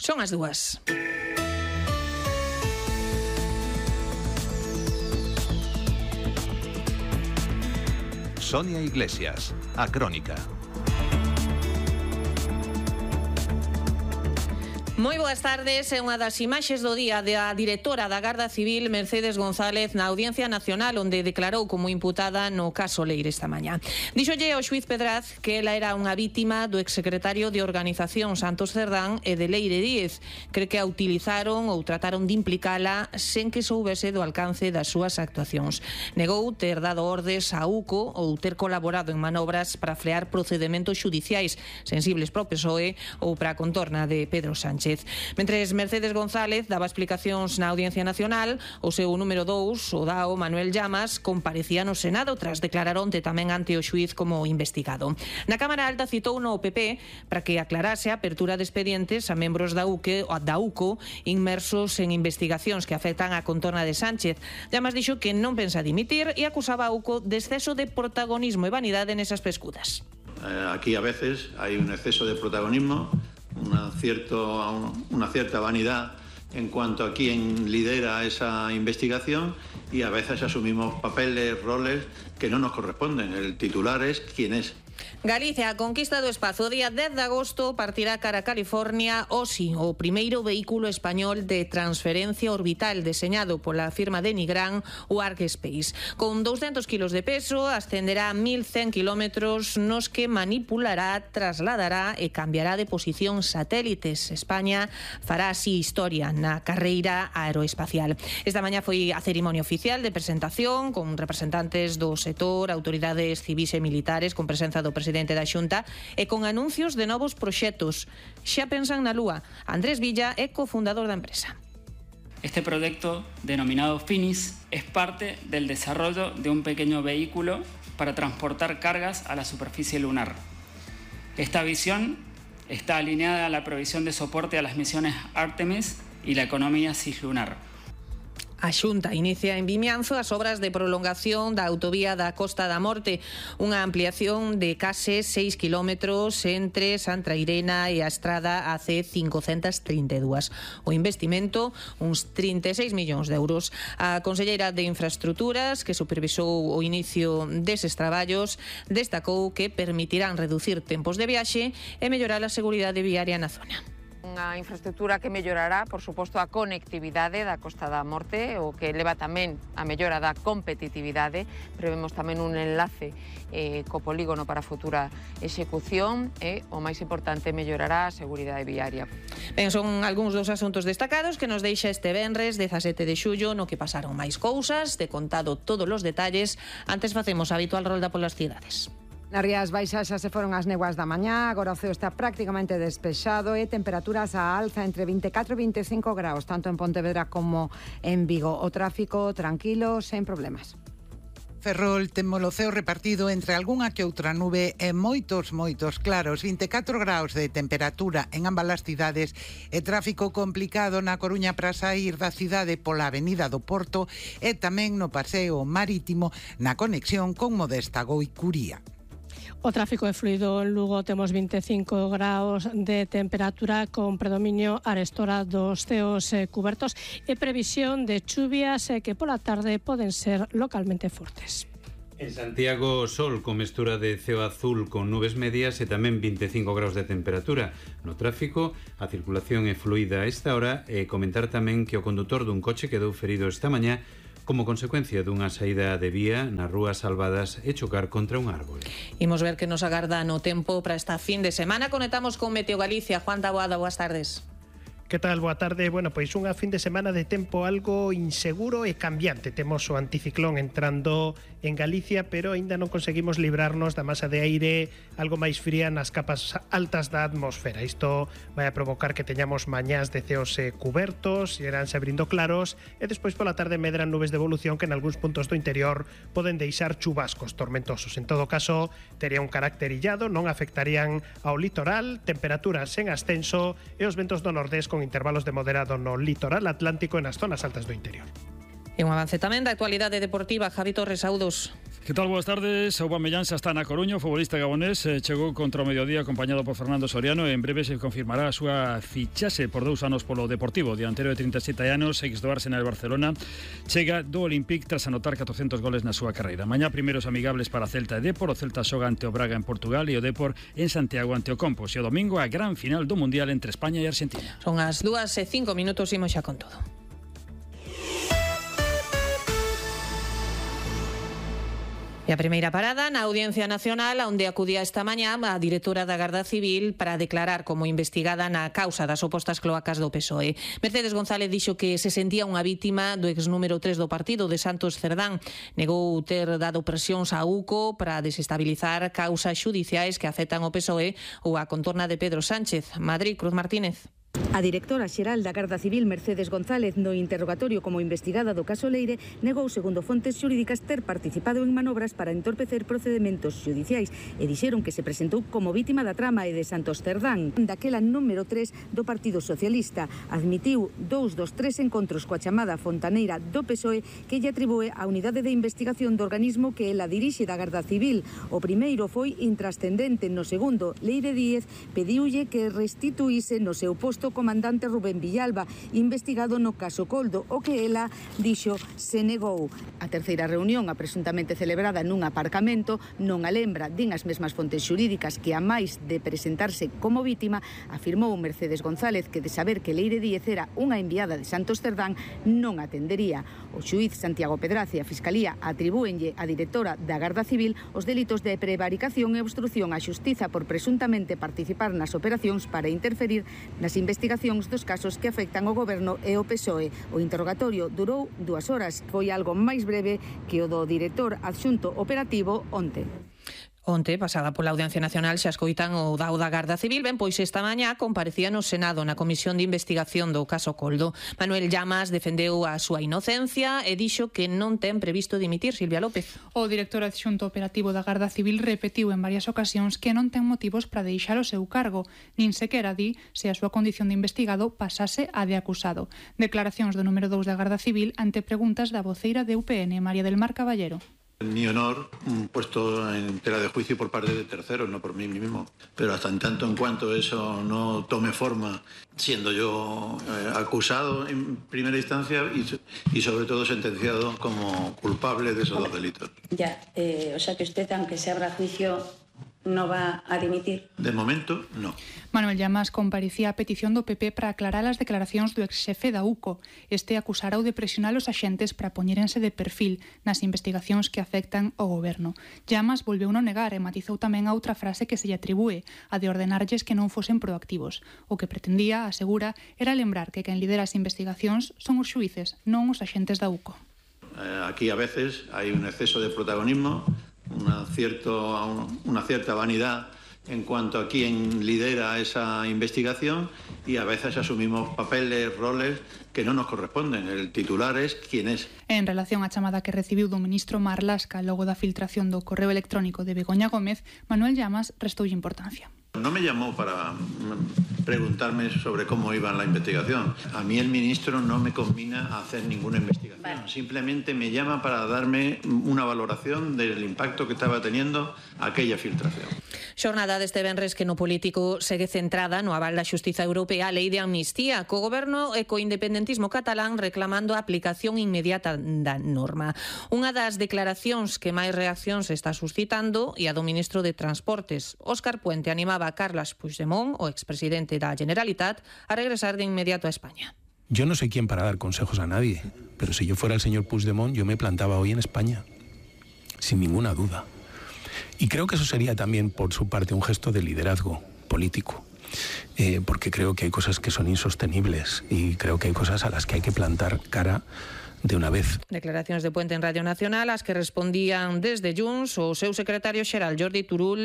Son as 2. Sonia Iglesias, a Crónica. Moi boas tardes, é unha das imaxes do día da directora da Garda Civil, Mercedes González, na Audiencia Nacional, onde declarou como imputada no caso Leire esta mañá. Díxolle ao xuíz Pedraz que ela era unha vítima do exsecretario de Organización Santos Cerdán e de Leire Díez. Cree que a utilizaron ou trataron de implicala sen que soubese do alcance das súas actuacións. Negou ter dado ordes a UCO ou ter colaborado en manobras para frear procedementos xudiciais sensibles para o PSOE ou para a contorna de Pedro Sánchez. Mentres Mercedes González daba explicacións na Audiencia Nacional, o seu número 2, o DAO Manuel Llamas, comparecía no Senado tras declarar onte tamén ante o xuíz como investigado. Na Cámara Alta citou no PP para que aclarase a apertura de expedientes a membros da UCO inmersos en investigacións que afectan a contorna de Sánchez. Llamas dixo que non pensa dimitir e acusaba a UCO de exceso de protagonismo e vanidade nesas pescudas. Aquí a veces hay un exceso de protagonismo, una cierta vanidad en cuanto a quién lidera esa investigación y a veces asumimos papeles, roles que no nos corresponden. El titular es quién es. Galicia, a conquista do espazo. O día 10 de agosto partirá cara a California OSI, o primeiro vehículo español de transferencia orbital deseñado pola firma de Nigran, o Arkspace. Con 200 kilos de peso, ascenderá a 1100 kilómetros nos que manipulará, trasladará e cambiará de posición satélites. España fará así historia na carreira aeroespacial. Esta mañá foi a cerimonia oficial de presentación con representantes do sector, autoridades civis e militares, con presenza do presidente da Xunta e con anuncios de novos proxectos. Xa pensan na Lúa. Andrés Villa é cofundador da empresa. Este proyecto, denominado Finis, es parte del desarrollo de un pequeño vehículo para transportar cargas a la superficie lunar. Esta visión está alineada a la provisión de soporte a las misiones Artemis y la economía cislunar. A Xunta inicia en Vimianzo as obras de prolongación da autovía da Costa da Morte, unha ampliación de case 6 kilómetros entre Santrairena e a estrada AC 532. O investimento, uns 36 millóns de euros. A conselleira de Infraestructuras, que supervisou o inicio deses traballos, destacou que permitirán reducir tempos de viaxe e mellorar a seguridade viaria na zona. Unha infraestructura que mellorará, por suposto, a conectividade da Costa da Morte, o que leva tamén a mellora da competitividade. Prevemos tamén un enlace co polígono para a futura execución e, o máis importante, mellorará a seguridade viaria. Ben, son algúns dos asuntos destacados que nos deixa este venres 17 de xullo, no que pasaron máis cousas, de contado todos os detalles. Antes facemos a habitual rolda polas cidades. Nas Rías Baixas xa se foron as néboas da mañá, agora o ceo está prácticamente despexado e temperaturas a alza entre 24 e 25 graus, tanto en Pontevedra como en Vigo. O tráfico tranquilo, sen problemas. Ferrol temos o ceo repartido entre algunha que outra nube e moitos claros, 24 graus de temperatura en ambas as cidades e tráfico complicado na Coruña para saír da cidade pola Avenida do Porto e tamén no paseo marítimo na conexión con Modesta Goicuría. O tráfico é fluido en Lugo, temos 25 graus de temperatura con predominio arestora dos ceos cubertos e previsión de chuvias que pola tarde poden ser localmente fortes. En Santiago, sol con mestura de ceo azul con nubes medias e tamén 25 graus de temperatura. No tráfico, a circulación é fluida a esta hora e comentar tamén que o condutor dun coche quedou ferido esta mañá como consecuencia dunha saída de vía nas rúas Salvadas e chocar contra un árbol. Imos ver que nos agarda no tempo para esta fin de semana. Conectamos con Meteo Galicia. Juan Taboada, boas tardes. Que tal? Boa tarde. Bueno, pois unha fin de semana de tempo algo inseguro e cambiante. Temos o anticiclón entrando en Galicia, pero aínda non conseguimos librarnos da masa de aire algo máis fría nas capas altas da atmosfera. Isto vai a provocar que teñamos mañás de ceos cubertos, iránse abrindo claros, e despois pola tarde medran nubes de evolución que en algúns puntos do interior poden deixar chubascos tormentosos. En todo caso, tería un carácter illado, non afectarían ao litoral, temperaturas en ascenso e os ventos do nordés con intervalos de moderado no litoral atlántico e nas zonas altas do interior. E un avance tamén da actualidade deportiva. Javi Torres, saúdos. Que tal? Boas tardes. Aubameyang xa está na Coruña, o futbolista gabonés chegou contra o mediodía acompañado por Fernando Soriano e en breve se confirmará a súa fichaxe por 2 anos polo Deportivo. O dianteiro de 37 anos, ex do Arsenal e Barcelona, chega do Olympique tras anotar 400 goles na súa carreira. Mañá primeiros amigables para Celta e Depor. O Celta xoga ante o Braga en Portugal e o Depor en Santiago ante o Compos. E o domingo a gran final do Mundial entre España e Argentina. Son as 2:05, imos xa con todo. E a primeira parada na Audiencia Nacional, onde acudía esta mañá a directora da Garda Civil para declarar como investigada na causa das supostas cloacas do PSOE. Mercedes González dixo que se sentía unha vítima do ex número 3 do partido de Santos Cerdán. Negou ter dado presións a UCO para desestabilizar causas xudiciais que afectan o PSOE ou a contorna de Pedro Sánchez. Madrid, Cruz Martínez. A directora xeral da Garda Civil, Mercedes González, no interrogatorio como investigada do caso Leire, negou, segundo fontes xurídicas, ter participado en manobras para entorpecer procedementos xudiciais e dixeron que se presentou como vítima da trama e de Santos Cerdán, daquela número 3 do Partido Socialista. Admitiu 2 dos 3 encontros coa chamada Fontaneira do PSOE que lle atribúe a unidade de investigación do organismo que ela dirixe da Garda Civil. O primeiro foi intrascendente, no segundo, Leire Díez pediulle que restituíse no seu posto comandante Rubén Villalba, investigado no caso Coldo, o que ela dixo se negou. A terceira reunión, a presuntamente celebrada nun aparcamento, non a lembra, din as mesmas fontes xurídicas que a máis de presentarse como vítima, afirmou Mercedes González que de saber que Leire Díez era unha enviada de Santos Cerdán non atendería. O xuíz Santiago Pedraza e a Fiscalía atribúenlle á directora da Garda Civil os delitos de prevaricación e obstrución á xustiza por presuntamente participar nas operacións para interferir nas investigacións dos casos que afectan o Goberno e o PSOE. O interrogatorio durou 2 horas, foi algo máis breve que o do director adxunto operativo onte. Onte, pasada pola Audiencia Nacional, xa escoitan o dao da Garda Civil. Ben, pois esta mañá comparecía no Senado na Comisión de Investigación do caso Coldo. Manuel Llamas defendeu a súa inocencia e dixo que non ten previsto dimitir. Silvia López. O director adxunto operativo da Garda Civil repetiu en varias ocasións que non ten motivos para deixar o seu cargo, nin sequera di se a súa condición de investigado pasase a de acusado. Declaracións do número 2 da Garda Civil ante preguntas da voceira de UPN, María del Mar Caballero. Mi honor puesto en tela de juicio por parte de terceros, no por mí mismo. Pero hasta en tanto en cuanto eso no tome forma, siendo yo acusado en primera instancia y sobre todo sentenciado como culpable de esos 2 delitos. Ya, o sea que usted, aunque se abra juicio, no va a dimitir. De momento, no. Manuel Llamas comparecía a petición do PP para aclarar as declaracións do exxefe da UCO. Este acusará de presionar os axentes para poñérense de perfil nas investigacións que afectan ao goberno. Llamas volveu non negar e matizou tamén a outra frase que se lle atribúe, a de ordenarlles que non fosen proactivos. O que pretendía, asegura, era lembrar que quen lidera as investigacións son os xuíces, non os axentes da UCO. Aquí a veces hay un exceso de protagonismo, una cierta vanidad en cuanto a quién lidera esa investigación y a veces asumimos papeles, roles que no nos corresponden. El titular es quien es. En relación á chamada que recibiu do ministro Marlaska logo da filtración do correo electrónico de Begoña Gómez, Manuel Llamas restoulle importancia. No me llamó para preguntarme sobre cómo iba la investigación. A mí el ministro no me conmina a hacer ninguna investigación. Vale. Simplemente me llama para darme una valoración del impacto que estaba teniendo aquella filtración. Xornada deste venres que no político segue centrada no aval da Xustiza Europea a lei de amnistía, co goberno e co independentismo catalán reclamando a aplicación inmediata da norma. Unha das declaracións que máis reaccións está suscitando e a do ministro de Transportes. Óscar Puente animaba a Carles Puigdemont, o expresidente da Generalitat, a regresar de inmediato a España. Yo no sé quién para dar consejos a nadie, pero si yo fuera el señor Puigdemont, yo me plantaba hoy en España, sin ninguna duda. Y creo que eso sería también, por su parte, un gesto de liderazgo político, porque creo que hay cosas que son insostenibles y creo que hay cosas a las que hay que plantar cara de una vez. Declaracións de Puente en Radio Nacional, as que respondían desde Junts o seu secretario xeral Jordi Turull